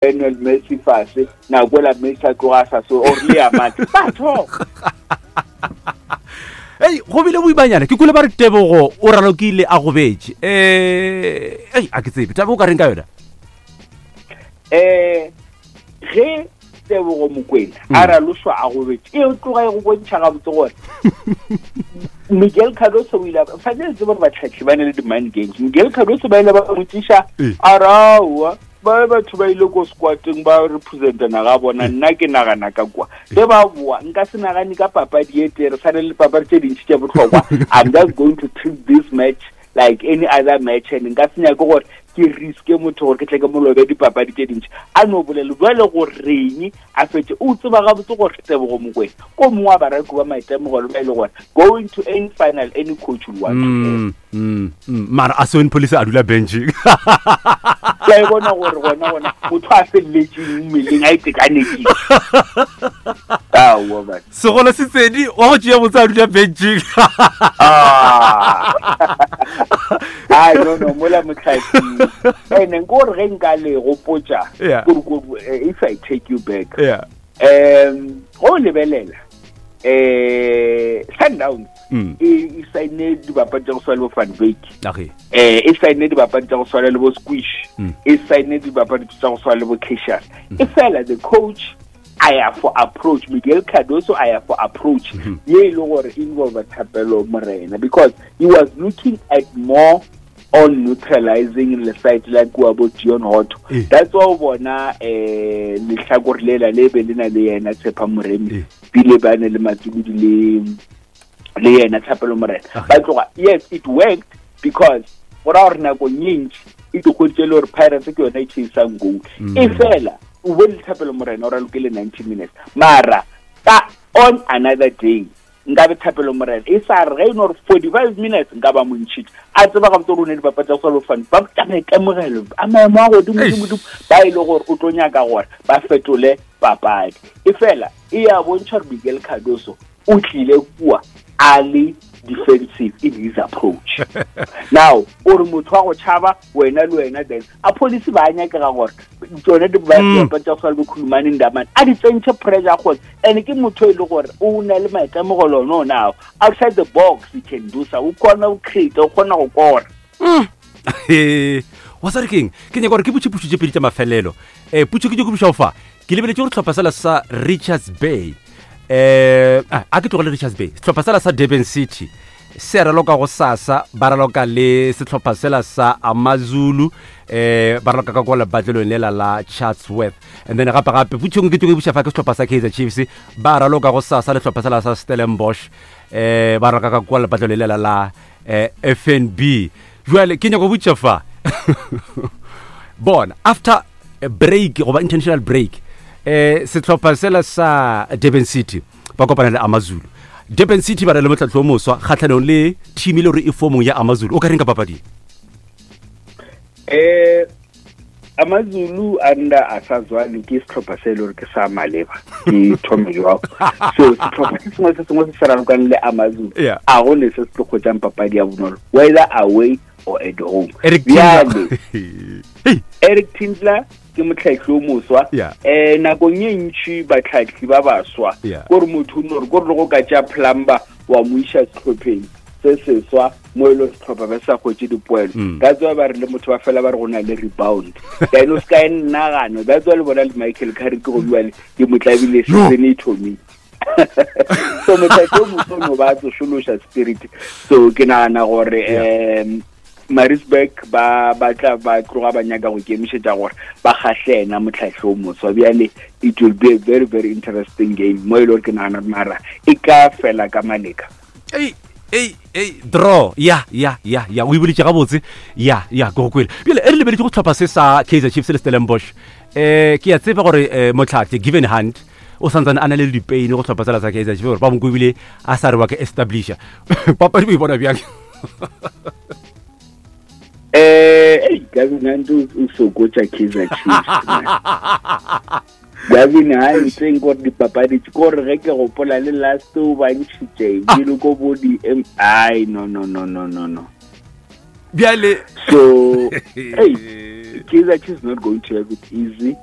Lionel Messi fase nako la Messi a tloga a sa so or le ya mane ba thoma. Ei, go bile boimanyana ke kule ba re Tebogo o ralokile a gobetše. Eh, ei, a ke tsebe taba o ka reng ka yona? Eh, ge Tebogo Mokwena a raloswa a gobetše e tloga e go bontšha gabotse gore Miguel Cardoso o ile a fa le tsebe gore batlhatlhi ba ne le di-mind games. Miguel Cardoso ba ile ba mmotsiša a re aowa ba batho ba ile ko squateng ba representa naga bona nna ke nagana ka kwa ge ba boa nka se nagane ka papadi e tee re sane le papadi tse dintši tše bohlokwa. I'm just going to treat this match like any other match and nka se nyake gore ke riske motho gore ke tle ke molobe dipapadi tše dintši. A no bolele jale goreng a fetse o tseba gabotse gore Tebogo Mokwena ko mongwe wa baraki ba maitemogelo ba e le gore going to any final any coach will want to have. Mara a Sone Police a dula benching. Ke a e bona gore gona gona motho a feleletseng mmeleng a itekanetseng. Aowa man. Segolo se tsedi wa go tšea botse a dula benching. Ah. Ai no no mola motlhaki. Ene nko gore ge nka le gopotša gore if I take you back. Yeah. Go lebelela Sundowns e saine dibapadi tša go swana le bo Van Wyk. E saine dibapadi tša go swana le bo Squish. E saine dibapadi tša go swana le bo Cassius. E fela the coach a ya for approach, Miguel Cardoso a ya for approach ye e le gore involve Thapelo Morena because he was looking at more on neutralizing le side la kua bo Dion Hotto. That's why o bona lehlakore lela le be le na le yena Tshepa Moremi bile ba ne le Matsuludi le yena Thapelo Morena. Ba tloga, yes it worked because go ra gore nako e ntši e tlogoditse le gore Pirates ke yona e chasang goal. E fela o bone Thapelo Morena o ralokile 90 minutes mara ka on another day nka be Thapelo Morena e sa re ge e no re 45 minutes nka ba montšhitše a tseba gabotse gore o ne dibapadi tsa go swana le fane ba tsa maitemogelo a maemo a godimo godimo godimo ba e le gore o tlo nyaka gore ba fetole papadi. E fela e ya bontšha gore Miguel Cardoso o tlile kua a le defensive in his approach. Now o re motho wa go tšhaba wena le wena then a police ba nyakega gore tsone dibapadi tsa go swana le Khulumani Ndamane a di tsentšhe pressure gore and ke motho e le gore o na le maitemogelo one one ao outside the box he can do so, o kgona go create, o kgona go kora. Wa sa re keng ke nyaka gore ke botše pušo tše pedi tša mafelelo. Putšo ke nyako buša fa ke lebeletše gore sehlopha sela sa Richards Bay a ke tlogele Richards Bay, sehlopha sela sa Durban City se raloka go sasa ba raloka le sehlopha sela sa Amazulu ba raloka ka kwa lebatlelong lela la Chatsworth. And then gape gape putšong ke tloge buša fa ke sehlopha sa Kaizer Chiefs ba raloka go sasa le sehlopha sela sa Stellenbosch ba raloka ka kwa lebatlelong lela la FNB. Jwale ke nyako botša fa bona after a break goba international break sehlopha sela sa Durban City ba kopana le Amazulu. Durban City ba na le motlhatlo o moswa kgatlhanong le team e le gore e formong ya Amazulu. O ka reng ka papadi? Amazulu under Asazwane ke sehlopha se e le gore ke sa maleba ke thome jwang. So sehlopha se sengwe se sengwe se se ralokang le Amazulu a go ne se se tlo kgwetšang papadi ya bonolo whether away or at home. Eric Bjale, Eric Tinkler ke motlhatlhi o moswa. Nakong e ntši batlhatlhi ba baswa kore motho o no re kore le go ka tša plumber wa mo iša sehlopheng se seswa mo e le sehlopha ba sa hwetše dipoelo. That's why ba re le motho ba fela ba re go na le rebound. Then o se ka e nnagana. That's why le bona le Michael Carrick go bua le ke mo tlabile season e thomile. So motlhatlhi o moswa no ba tsošološa spirit. So ke nagana gore Maritzburg ba batla ba tloga ba nyaka go ikemišetša gore ba kgahle ena motlhatlhi o moswa. Bjale it will be a very very interesting game mo e le gore ke nagana mara e ka fela ka maleka. Ei, ei, ei, draw. Ya, ya, ya, ya. O e boletše gabotse. Ya, ya, ke go kwele. Bjale e re lebeletše go sehlopha se sa Kaizer Chiefs le Stellenbosch. Ke a tseba gore motlhatlhi Gavin Hunt o santsane a na le dipeine go sehlopha sela sa Kaizer Chiefs gore ba mo kwebile a sa re wa ke establisha. Papadi o e bona bjang? Ei, Gavin Hunt o sokotša Kaizer Chiefs. Gavin Hunt nko gore dipapadi ke gore ge ke gopola le last o ba ntšhitše ke le ko bo di M I no no no no no no. Bjale so hey, Kaizer Chiefs not going to have it easy.